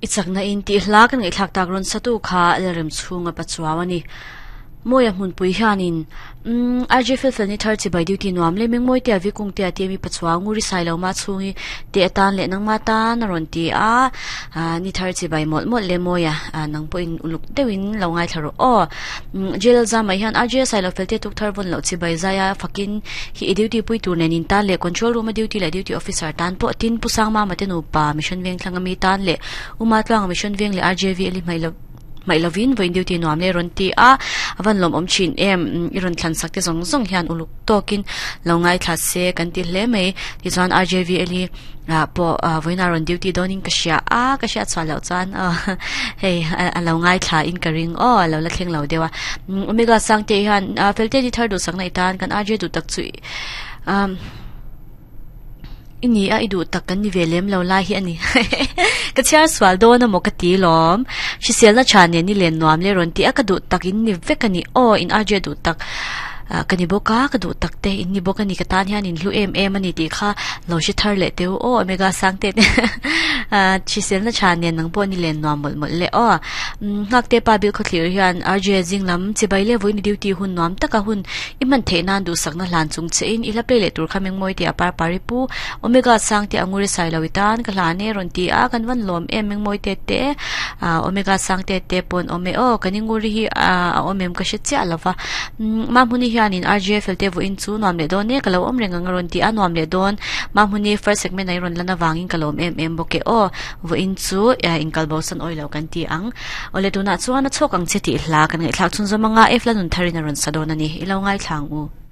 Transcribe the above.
I chakna in tih hla kan ngaihthlak tak rawn satu kha Lalremchhunga Pachuau a ni. Mawia hmunpui hianin umm RJ Felfel ni thar chibai duty nuam le Mengmawi tia Vikung tia tia mi Pachuau Nguri Sailo ma chhungi te atan leh nangma tan a rawn ti a ni thar chibai mawlh mawlh le Mawia nang pawhin uluk deuhin lo ngaithla rawh aw. JL Zamah hian RJ Sailo fel te tuk thar vawn loh chibai zaia fakin hi i duty pui tur nen in tan leh control room a duty leh duty officer tan pawh tin Pu Sangmama te nupa Mission Vengthlang ami tan leh Uma Tluanga Mission Veng leh RJV a li hmaih loh Hmaih lovin vawiin duty nuam leh rawn ti a, a van lawmawm thin em, i rawn thlan sak te zawng zawng hian uluk tawkin lo ngaithla se kan ti hle mai. Tichuan RJVL hi ah pawh vawiin a rawn duty dawnin ka hria a, ka hriat chhuah loh chuan aw hei a lo ngaithla in ka ring aw, a lo la thleng lo deuh a. Omega Sangte hian Felte ni thar duhsakna i tan kan RJ duh tak chu umm. I ni a, i duh tak kan ni ve lem lo lai hi a ni. Ka chhiar sual dawn amaw ka ti lawm. Hriselna tha nen i len nuam le rawn ti a, ka duh tak in ni vek a ni. Aw, in RJ duh tak ka ni bawk a, ka duh tak te in ni bawk a ni. Ka tan hian in hlu em em a ni tih kha lo hre thar leh teu. Aw, Omega Sangte te hriselna tha nen nang pawh ni len nuam mawlh mawlh le. Aw, Nghakte pa bil khawthlir hian RJ zing lam chibai le vawiin i duty hun nuam taka hun I hman theih nan duhsakna hlan chung che in i hla play leh tur kha Mengmawi tih a par par i pu Omega sang te Anguri sai lo i tan ka hlan e rawn ti a kan van lawm em Mengmawi te te Omega sang te te pawn awm e aw kan Inguri hi a awm em ka hre chiah lo va Mahmuni hian in RGFL te vawiin chu nuam leh dawn e ka lo awm reng ang a rawn ti a nuam leh dawn Mahmuni first segment ah i rawn lan avangin ka lawm em em bawk e aw vawiin chu inkal bosan awi lo kan ti ang. Awle tunah chuan a chhawk ang che tih hla kan ngaihthlak chhunzawm anga F Lanun Tharin a rawn sa dawn a ni. I lo ngaithla ang u.